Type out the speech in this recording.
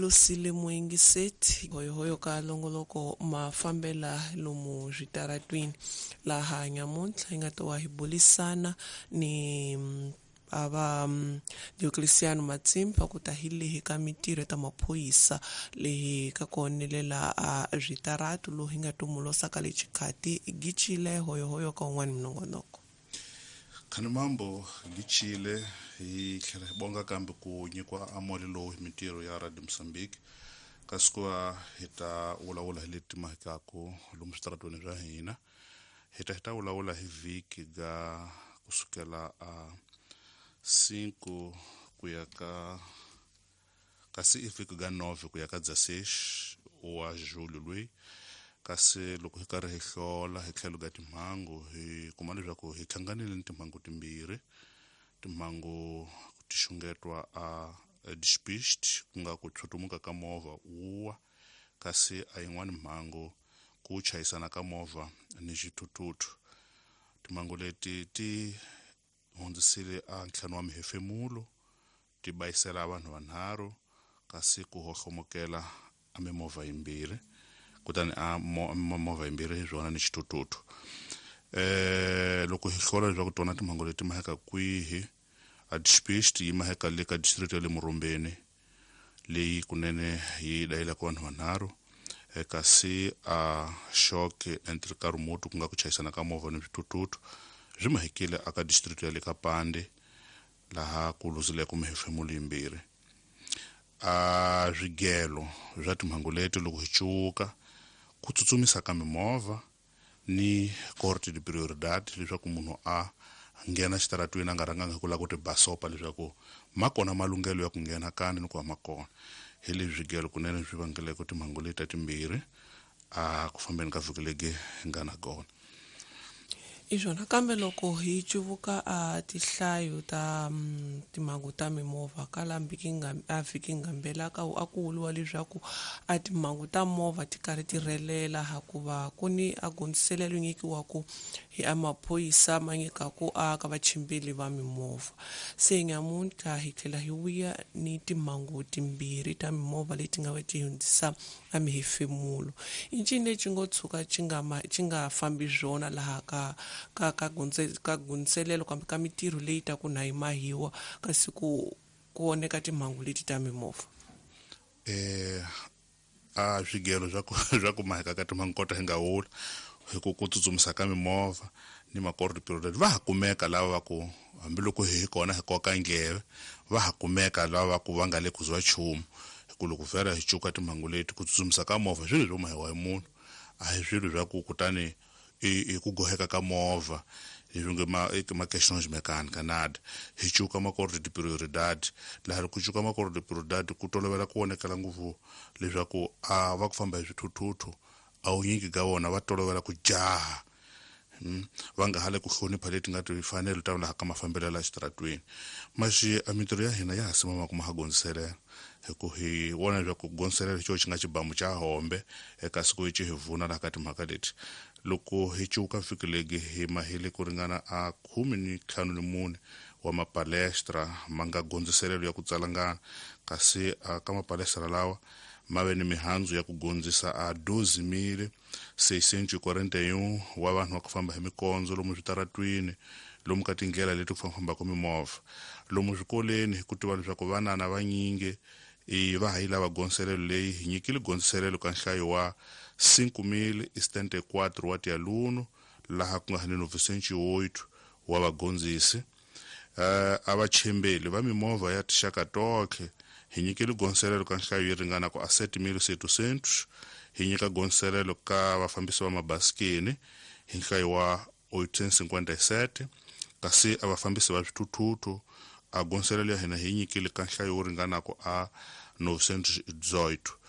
Lusile Muingiseti hoyohoyo ka longoloko mafambela lomu switaratwini laha nyamuntlha hi nga to wa hi bulisana ni ava Diocleciano Matsimbi va ku ta hi lehi ka mitirho ta maphorisa lehi ka ku onelela a switaratu lowu hi nga tumulosa ka le xikhati gicile hoyohoyo ka un'wana minongonoko. Khanimambo gichile hi tlhela hi bonga kambe ku nyikiwa amole lowu hi mintirho ya Radio Mozambique, kasi ku va hi ta vulavula hi leti mahikaku lomu switaratweni swa hina. Hi ta vulavula hi vhiki ga kusukela a 5 ku ya ka kasi i vhiki ga 9 ku ya ka 16 wa julho loyi. Kasi loko hi karhi hi hlola hi tlhelo ka timhangu hi kuma leswaku hi hlanganile ni timhangu timbirhi. Timhangu ti xungetwa a despiste, ku nga ku tshutumuka ka movha wuwa, kasi a yin'wani mhangu ku chayisana ka movha ni xithuthuthu. Timhangu leti ti hundzisile a ntlhanu wa mihefemulo, ti bayisela vanhu vanharhu, kasi ku hohlomokela a mimovha yimbirhi, kutani a movha yimbirhi hi swona ni xithuthuthu. Loko hi hlola leswaku tona timhangu leti maheka kwihi, a despiste yi maheka le ka district ya le Murumbeni leyi kunene yi dayelaka vanhu vanharhu, kasi a shock entre ka remote ku nga ku chayisana ka movha ni swithuthuthu swi mahekile aka district ya le ka Pande laha ku luzileke mihefemulo yimbirhi. A swigelo swa timhangu leti loko hi cuka ku tsutsumisa ka mimovha ni corte de prioridad, leswaku munhu a nghena xitaratwini a nga rhanganga hi ku lava ku ti basopa leswaku ma kona malunghelo ya ku nghena kani ni ku va ma kona. Hi leswi swigelo kunene swi vangeleke timhangu leti ta timbirhi a ku fambeni ka vhiki legi hi nga na kona. Iswona kambe loko hi cuvuka a tinhlayo ta timhangu ta mimovha ka la a vhiki ngambela ka a ku vuriwa leswaku a timhangu ta movha ti karhi ti rhelela hikuva ku ni a gondziselelo nyikiwaku hi a maphorisa ma nyikaku a ka vachimbeli va mimovha. Se nyamuntlha hi tlhela hi vuya ni timhangu timbirhi ta mimovha leti nga va ti hundzisa a mihefemulo. I ncini lexi ngo tshuka xi nga xi nga fambi swona laha ka ka ka ka gondziselelo kambe ka mitirho leyi ta ku na yi mahiwa kasi ku ku oneka timhangu leti ta mimovha? A swigelo swa ku swa ku maheka ka timhangu kota hi nga wula hi ku ku tsutsumisa ka mimovha ni makordo period va ha kumeka lava va ku hambiloko hi kona hi koka ndleve, va ha kumeka lava va ku va nga le ku zwa nchumu. Hi ku loko vhela hi cuka timhangu leti ku tsutsumisa ka movha swilo swo mahiwa hi munhu, a hi swilo swa ku kutani i ku goheka ka movha leswi nge ma i ma questões mecânica nada. Hi cuka makordo de prioridade, laha ku cuka makordo de prioridade ku tolovela ku vonakala ngopfu leswaku a va ku famba hi swithuthuthu a wunyingi ka vona va tolovela ku jaha, va nga ha le ku hlonipha leti nga timfanelo ta laha ka mafambelo ya xitaratwini. Maxi a mintirho ya hina ya ha simama ku ma ha gondziselela, hi ku hi vona leswaku ku gondziselela hi xona xi nga xibamu xa hombe eka siku hi xi hi vuna laha ka timhaka leti. Loko hi cuka vhiki legi hi mahile ku ringana a 14 wa mapalestra ma nga gondziselelo ya ku tsalangana, kasi a ka mapalestra lawa ma ve ni mihandzu ya ku gondzisa a 12,641 wa vanhu va ku famba hi mikondzo lomu switaratwini, lomu ka tindlela leti ku fambaka mimovha, lomu swikoleni. Hi ku tiva leswaku vanana vanyingi i va ha yi lava gondziselelo leyi, hi nyikile gondziselelo ka nhlayo wa 5,074 wa tialunu laha ku nga ni 908 wa vagondzisi. A vachembeli va mimovha ya tinxaka tonkhe hi nyikile gondziselelo ka nhlayo yi ringana ku a 7,700. Hi nyika gondziselelo ka vafambisi va mabasikeni hi nhlayo wa 857, kasi a vafambisi va swithuthuthu a gondziselelo ya hina hi nyikile ka nhlayo wo ringana ku a 918.